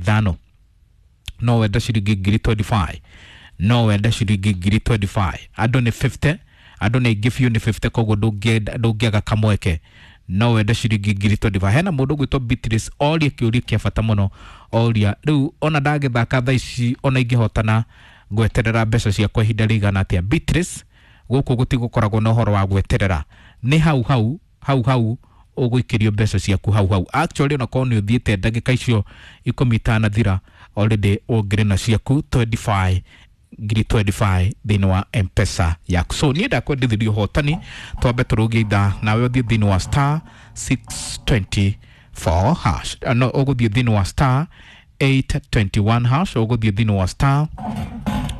ithano. No wende ciringi ngiri 25, no wende ciringi ngiri 25. Andũ nĩ 50, andũ nĩ aingĩ biũ, nĩ 50, koguo ndũngĩaga kamweke. No wende ciringi ngiri 25. Hena mũndũ ũgwĩtwo Beatrice oria kĩũria kĩa bata mũno, oria rĩu ona ndagĩthaka thaa ici ona ingĩhotana ngweterera mbeca ciakwa ihinda rĩigana atĩa? Beatrice, gũkũ gũtigũkoragwo na ũhoro wa gweterera, nĩ hau hau hau hau ũgũikĩrio mbeca ciaku hau hau. Actually, onakorwo nĩ ũthiĩte ndagĩka icio 10 itanathira, already ũngĩrĩ na ciaku 25 ngiri 25 thĩinĩ wa M-Pesa yaku. So niĩ ndakwendithirie ũhotani, twambe tũrũgie ithaa nawe ũthiĩ thĩinĩ wa star 624 hash. No ũgũthiĩ thĩinĩ wa star 821 hash, ũgũthiĩ thĩinĩ wa star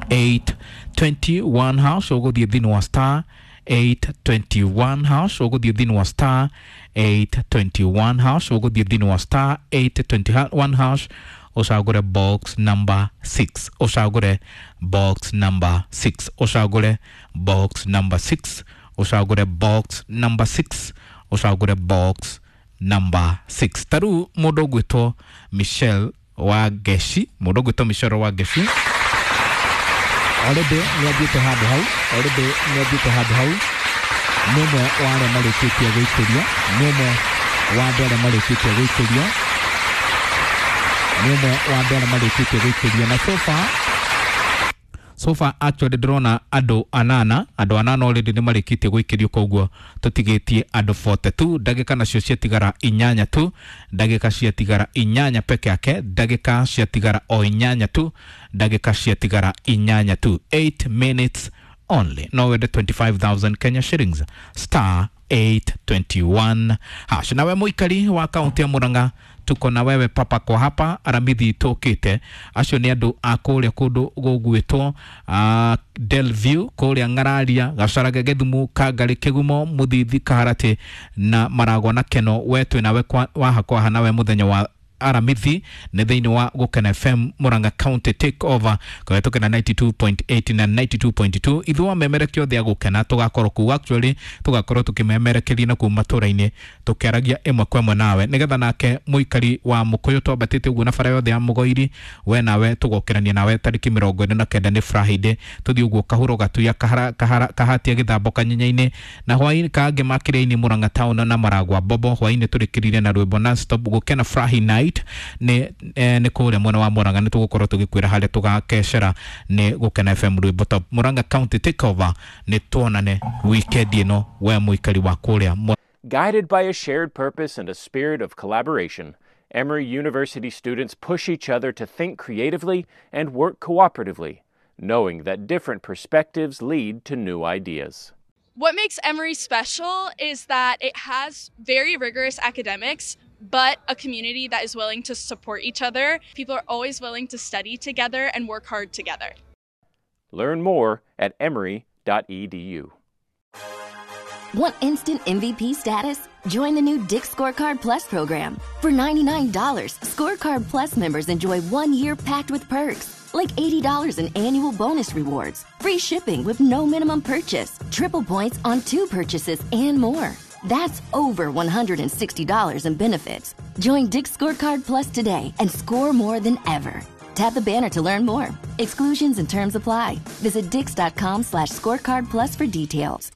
821 hash, ũgũthiĩ thĩinĩ wa star 821 hash, ũgũthiĩ thĩinĩ wa star 821 hash, ũgũthiĩ thĩinĩ wa star 821 hash, ũcagũre box number 6, ũcagũre box number 6, ũcagũre box number 6, ũcagũre box number 6, ũcagũre box number 6. Ta rĩu mũndũ ũgwĩtwo Michelle wa Ngeshi, mũndũ ũgwĩtwo Michelle wa Ngeshi already nĩ athiĩte handũ hau, already nĩ athiĩte handũ hau, nĩ ũmwe wa arĩa marĩkĩtie gũikĩrio, nĩ ũmwe wa andũ arĩa marĩkĩtie gũikĩrio, nĩ ũmwe wa andũ arĩa marĩkĩtie gũikĩrio. Na so far, so far actually ndĩrona andũ anana, andũ anana already nĩ marĩkĩtie gũikĩrio, koguo tũtigĩtie andũ 42. Ndagĩka nacio ciatigara inyanya tu, ndagĩka ciatigara inyanya peke yake, ndagĩka ciatigara o inyanya tu, ndagĩka ciatigara inyanya tu, 8 minutes only. No wende 25,000 Kenya shillings, star 821 hash. Nawe mũikari wa kaunti ya Murang'a, tuko na wewe papa kwa hapa aramithi tũkĩte. Acio nĩ andũ a kũrĩa kũndũ gũgwĩtwo Delview, kũrĩa Ng'araria, Gacarage, Gĩthumu, Kangarĩ, Kĩgumo, Mũthithi, Kaharatĩ na Maragwa na Keno. We twĩ nawe waha kwaha nawe mũthenya wa aramithi nĩ thĩinĩ wa Gũkena FM Murang'a County Take Over kũhetũkĩra 92.8 na 92.2. Ithuĩ amemerekia othe a Gũkena tũgakorwo kuu, actually tũgakorwo tũkĩmemerekeria na kuu matũra-inĩ tũkĩaragia ĩmwe kwa ĩmwe nawe, nĩgetha nake mũikari wa Mũkũyũ twambatĩte ũguo na bara yothe ya Mũgoiri, we nawe tũgokĩrania nawe tarĩki 49 nĩ Friday, tũthiĩ ũguo Kahuro, Gatuya, Kahatia, Gĩthambo, Kanyenya-inĩ na hwaĩ-inĩ kangĩ makĩria-inĩ Murang'a town na Maragwa Bobo. Hwaĩ-inĩ tũrĩkĩrire na rwĩmbo non stop Gũkena Friday night nĩ nĩ kũrĩa mwena wa Murang'a. Nĩ tũgũkorwo tũgĩkwĩra harĩa tũgakecera nĩ Gũkena FM rwĩmbo top Murang'a County Take Over. Nĩ tuonane weekend ĩno, we mũikari wa kũrĩa. Guided by a shared purpose and a spirit of collaboration, Emory University students push each other to think creatively and work cooperatively, knowing that different perspectives lead to new ideas. What makes Emory special is that it has very rigorous academics, but a community that is willing to support each other. People are always willing to study together and work hard together. Learn more at emory.edu. Want instant MVP status? Join the new Dick's Scorecard Plus program. For $99, Scorecard Plus members enjoy 1 year packed with perks, like $80 in annual bonus rewards, free shipping with no minimum purchase, triple points on two purchases, and more. That's over $160 in benefits. Join Dick's Scorecard Plus today and score more than ever. Tap the banner to learn more. Exclusions and terms apply. Visit dicks.com/scorecard plus for details.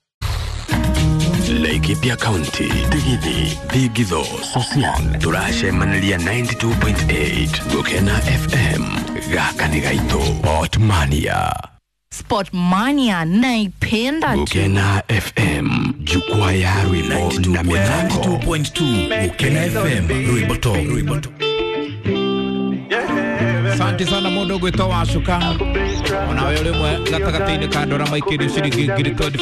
Laikipia County, Tigithi, Thigitho, Sosian, turacemaniria 92.8 Gukena FM. Gaka nĩ gaitũ. Otmania. Sport Mania naipenda tu. Gukena FM, jukwaa ya rwimbo na mĩthako. 92.2 Gukena FM, rwimbo top, rwimbo top. Asante sana mũndũ ũgwĩtwo Wacuka, onawe ũrĩ mwe gatagatĩ-inĩ ka andũ arĩa maikĩrio ciringi ngiri 25.